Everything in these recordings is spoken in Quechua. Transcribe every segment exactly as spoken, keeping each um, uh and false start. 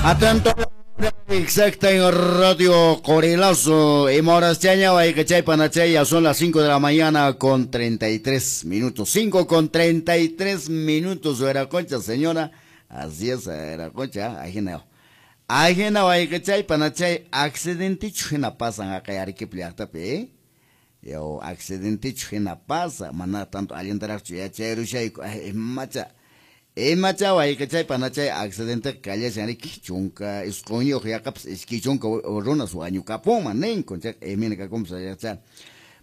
Atento exacta en Radio Corilazo. Y Morastiaña, Guaycachay, Panachay, ya son las cinco de la mañana con treinta y tres minutos. cinco con treinta y tres minutos, era concha, señora. Así es, era concha, ajena. Ajena, Guaycachay, Panachay, accidente chujena pasan acá, Arequipa, ¿eh? Yo, accidente chujena pasa, maná tanto alientar, ya chayrushayco, macha. Imacha wayqichay panachay accidente kallashan riki chunka isqunyuq yaqapas iskay chunka runas wañukapunman ninku chayqa imina kakunpas yacha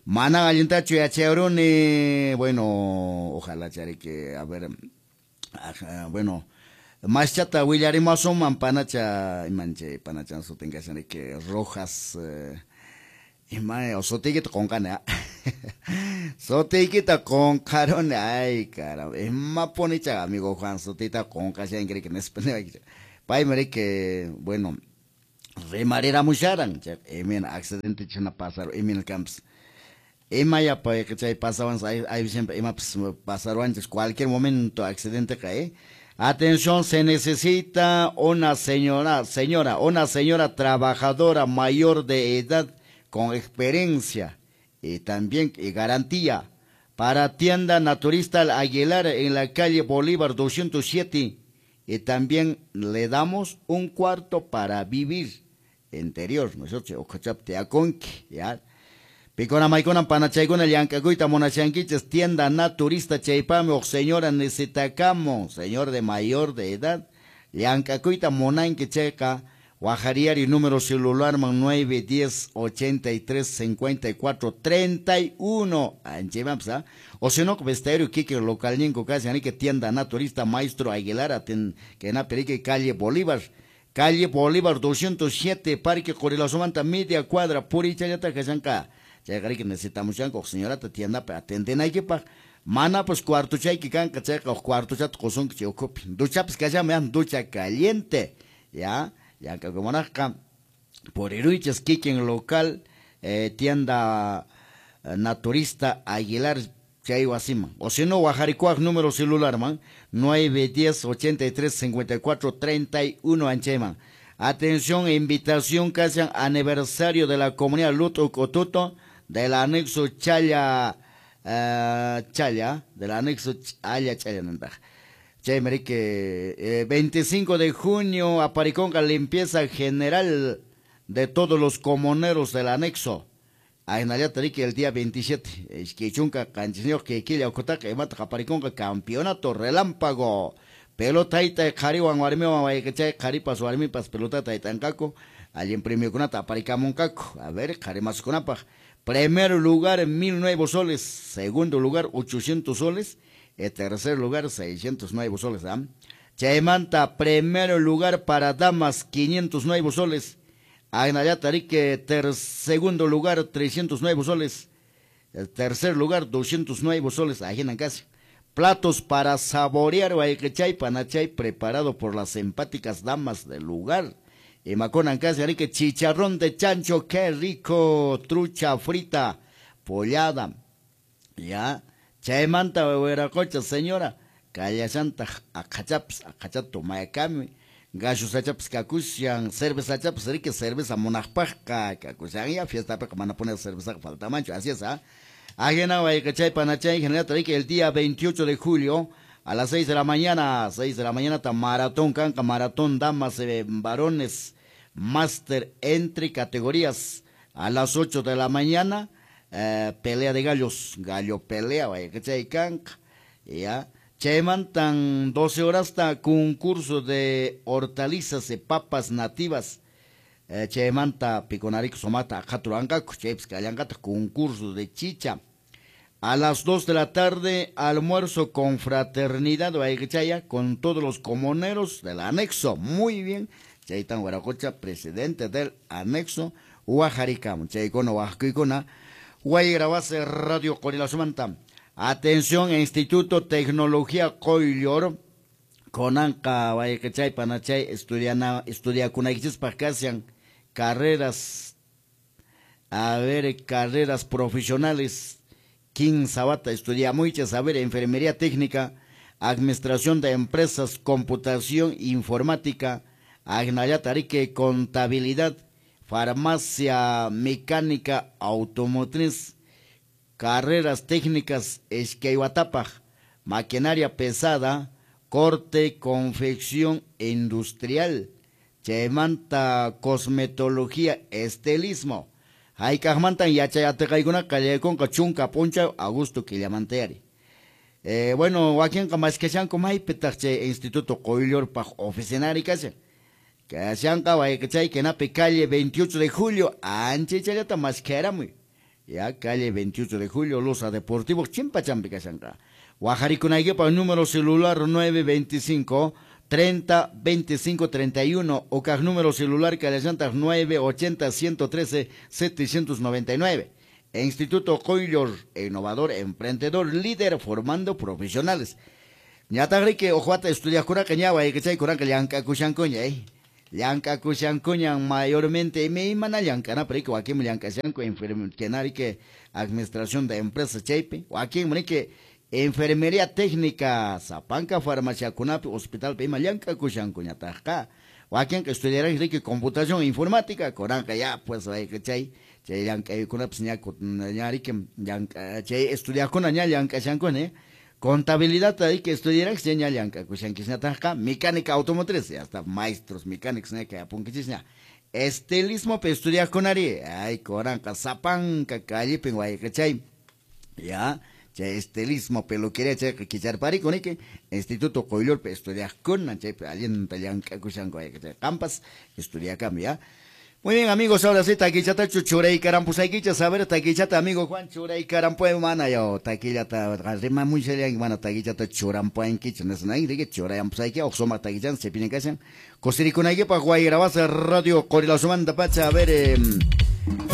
mana allintachu yachayruni bueno ojalá chariki a ver bueno maschata willarimasunman panacha imanchay panachan sutin kashan riki Rojas eh, ima sutiykita qunqani sutiykita qunqaruni ay caramba imapunicha amigo Juan sutita qunqashanki riki nispa niwaykicha paymi riki bueno rimariramusharan chayqa imina accidente china pasaru imina kanpas imayapa chay pasawanchis ay siempre imapas pasaruwanchis cualquier momento accidenteqa eh. Atención, se necesita una señora señora una señora trabajadora mayor de edad con experiencia y también y garantía para tienda naturista Aguilar en la calle Bolívar doscientos siete y también le damos un cuarto para vivir interior nosotros ya picona maicona panachaykuna llank'akuyta munashankichis tienda naturista chaypami uq señora necesitakamun señor de mayor de edad llank'akuyta munanki chayqa Guajariari número celular man nueve diez ochenta y tres cincuenta y cuatro treinta y uno. O si no, vestero Kike local ninco casi que tienda naturista Maestro Aguilar aten que na perique calle Bolívar. Calle Bolívar doscientos siete Parque Corilazomanta media cuadra purichayata kashanka. Chayqari que necesitamos yanko señora ta tienda pa atenden hay que pa mana pues cuarto chayki kanka chayqa cuarto chat qosunki chay ukhupi. Duchapis kashan ducha caliente. Ya. Yankakumanajqa puriruichis kikin local eh, tienda naturista Aguilar chay wasiman o si no wajarikuaq número celular man nueve diez ochenta y tres cincuenta y cuatro treinta y uno anchayman. Atención, invitación casi aniversario de la comunidad Luto Cotuto del anexo Chaya eh, Chaya del anexo Chaya Chaya nantaj. Chay marique, eh, veinticinco de junio, apariconga limpieza general de todos los comuneros del anexo. Ainayata rique el día veintisiete, ishkechunka qanchisniyuq killa ukhutaqa imataq apariconga campeonato relámpago. Pelota ita qhariwan warmiwan wayqichay qharipas warmipas pelotata itanqaku, allin premiokunata aparikamunqaku. A ver, qharimaskunapaq. Primer lugar mil nueve soles, segundo lugar ochocientos soles. El tercer lugar, seiscientos nueve soles. ¿Eh? Chaymanta, primer lugar para damas, quinientos nueve soles. Ainayata rique, ter segundo lugar, trescientos nueve soles. El tercer lugar, doscientos nueve soles. Ajinan casi. Platos para saborear, guayquechay, panachay, preparado por las empáticas damas del lugar. Y maconan casi, arique, chicharrón de chancho, qué rico, trucha frita, pollada. Ya. Chaymanta wiracocha señora, kallashanta aqhachapas, aqhachata mayakami, gallusachapas kakushan, cervezachapas riki cerveza munaqpaqqa kakushan ya fiestapiqa mana poner cervezaqa faltamanchu, así es, ¿ah? Ajena wayqichay panachay general riki el día veintiocho de julio a las seis de la mañana, seis de la mañana ta maratón kanka, maratón damas, eh, varones, máster entre categorías a las ocho de la mañana. Eh, pelea de gallos, gallo pelea, vaya que chay kanka, ya. Chaymantan doce horas hasta concurso de hortalizas y papas nativas. Eh, chaymanta piconarico somata aqhaturanqaku, chaypis kallanqataq concurso de chicha. A las dos de la tarde, almuerzo con fraternidad, vaya que chaya, con todos los comuneros del anexo. Muy bien. Chaytan Huaracocha, presidente del anexo, Huajaricam, chaykuna huajkuykuna. Guayrabase Radio Corilazomanta. Atención, Instituto Tecnología Qoyllor, Conanca, Guayquechay, Panachay, estudiana, estudiakunaykichispaq kashan carreras, a ver, carreras profesionales, quince wata estudiamuychis, a ver, enfermería técnica, administración de empresas, computación, informática, Agnallata riki contabilidad, farmacia, mecánica automotriz, carreras técnicas iskay watapaq, maquinaria pesada, corte, confección industrial, chaymanta cosmetología, estilismo. Hayk'aqmantan yachay atiqaykuna qallaykunqa chunka p'unchaw agosto killamantayari. Eh, bueno, wakinqa maskashanku maypitaq chay Instituto Qoyllurpaq oficinari kashan. Kashanqa wayqichay kinapi calle veintiocho de julio, anchaychallata maskaramuy. Ya, calle veintiocho de julio, Losa Deportivo, chimpachampi kashanqa. Wajarikunaykipaq número celular nueve veinticinco treinta veinticinco treinta y uno o kaq número celular kallashantaq nueve ochenta ciento trece setecientos noventa y nueve. Instituto Qoyllur, innovador, emprendedor, líder, formando profesionales. Ñataqriki uqwata estudiaqkunaqa ña wayqichay kuranqa llank'akushankuña, eh. Llank'akushankuñan mayormente imaymana llank'anapaq riki wakinmi llank'ashanku enfermería, administración de empresas chaypi, wakinmi riki enfermería técnica, sapanka farmaciakunapi, hospitalpi ima llank'akushankuñataqqa. Wakinqa estudiaran riki computación informática, kuranqa ya pues wayqichay chay llank'aykunapis ña ña riki llank'a chay estudiaqkuna ña llank'ashankuna, eh. Contabilidad hay que estudiar que ña llank'akushankisñataqqa, mecánica automotriz, ya está, maestros mecánicos ña kay apunkichisña. Estilismo pe estudiaqkunari, ay kuranqa sapanka callipin wayqichay, ya, chay estilismo peluquería chayqa kicharpariku niki, Instituto Qoyllurpi estudiaqkuna chaypi allinta llank'akushanku wayqichay, qampas estudiakami, ya. Muy bien, amigos, ahora sí, taquillatachu churaykarampushaykichis, a ver, taquillata, amigo Juan, churaykarampuay mana yo, taquillata, rimamushallanki mana taquillata churampuankichis, nisnayki, riki, churayampushayki, uq sumaq taquillan, chaypiña kashan. Kusirikunaykipaq Wayrabasa Radio Qorilasumanta pacha, a ver, eh,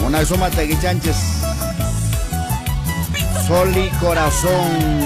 una suma taquillanchis, Sol y Corazón.